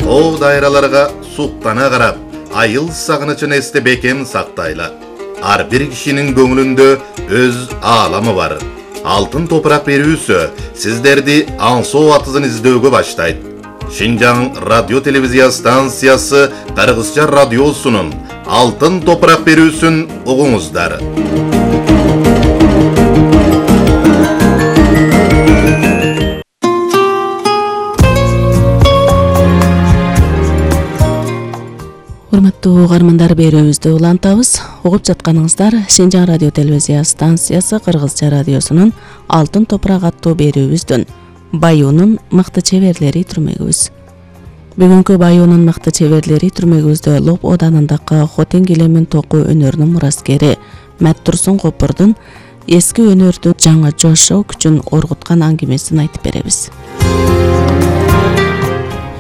О дайраларга суктана карап, айыл сагынычын эсте бекем сактайла. Ар бир кишинин көңүлүндө өз ааламы бар. Алтын топурак берүүсү сиздерди аңсоо атызын издөөгө баштайт. Шинжаң радио телевизия станциясы Кыргызча радиосунун Алтын топурак берүүсүн угуңуздар. Урматтуу угармандар, берүүбүздү улантабыз. Угуп жатканыңыздар Шинжаң радио телевизия станциясы Кыргызча радиосунун Алтын топурак аттуу берүүбүздүн Баюунун мыкты чеберлери түрмөгүбүз. Бүгүнкү Баюунун мыкты чеберлери түрмөгүбүздө Лоп Оданындагы Хотен килемин току өнөрүнүн мураскери Мәттурсун Копурдун эски өнөрдүн жаңы жошоо күчүн оргуткан аңгемесин айтып беребиз.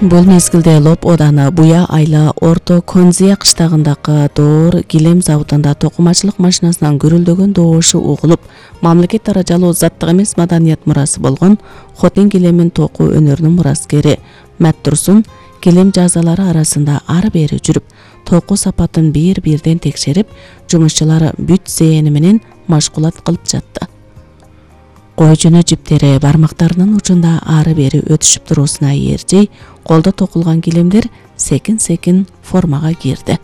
Бул мезгилде Лоп Оданы Буя айла Орто Конзия кыштагындагы доор килем заводунда токумачылык машинасынан гүрүлдөгөн добушу угулуп, мамлекет даражалуу заттык эмес маданият мурасы болгон Хотен килемин току өнөрүнүн мураскери Мәттурсун килем жазалары арасында ары бери жүрүп, току сапатын бир-бирден текшерип, жумушчулар бүт зээни менен машгулат кылып жатты. Кой жүнү жиптери бармактарынын учунда ары бери өтүшүп туруусуна ээрчей, колдо токулган килемдер секин-секин формага кирди.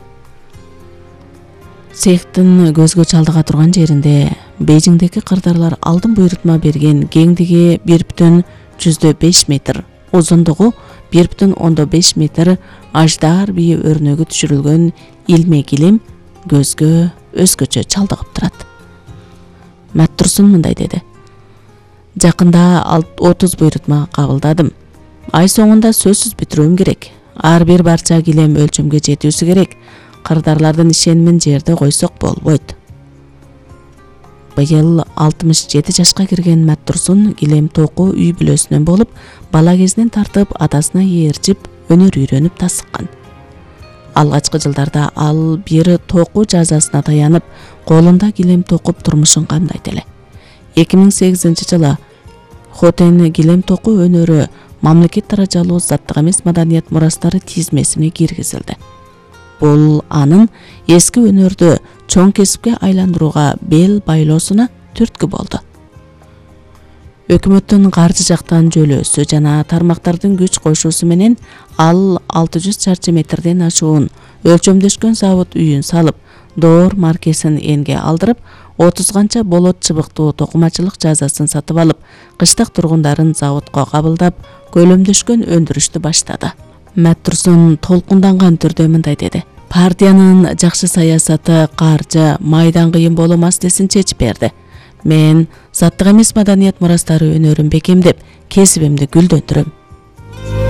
Цехтин көзгө чалдыга турган жеринде Бейжиңдеги кырдаарлар алдын буйрутма берген кеңдиги 1,5 метр, узундугу 1,5 метр аждар бийи өрнөгү түшүрүлгөн илме килем көзгө өзгөчө чалдыгып турат. Мәттурсун мындай деди: Жакында 30 буйрутма кабылдадым. Ай соңунда сөзсүз бүтүрүүм керек. Ар бир барча килем өлчөмгө жетүүсү керек. Кырдаарлардын ишенимин жерде койсок болбойт. Быйыл 67 жашка кирген Мәттурсун килем току үй бүлөсүнөн болуп, бала кезинен тартып атасына ээрчип өнөр үйрөнүп тасыккан. Алгачкы жылдарда ал бир току жазасына таянып, колунда килем токуп турмушун камдайт эле. 2008 жылы Хотен килем току өнөрү мамлекет даражалуу заттык эмес маданият мурастары тизмесине киргизилди. Бул анын эски өнөрдү чоң кесипке айландырууга бел байлоосуна түрткү болду. Өкмөттүн каржы жактан жөлөөсү жана тармактардын күч кошуусу менен ал 600 чарчы метрден ашуун өлчөмдөшкөн завод үйүн салып, доор маркесин энге алдырып, 30 канча болот чыбыктуу токумачылык жазасын сатып алып, кыштак тургундарын заводко кабылдап, көлөмдөшкөн өндүрүштү баштады. Мәттурсун толкунданган түрдө мындай деди: Партиянын жакшы саясаты каржы, майдан кыйын болуу маселесин чечип берди. Мен заттык эмес маданият мурастары өнөрүн бекемдеп, кесибимди гүлдөндүрөм.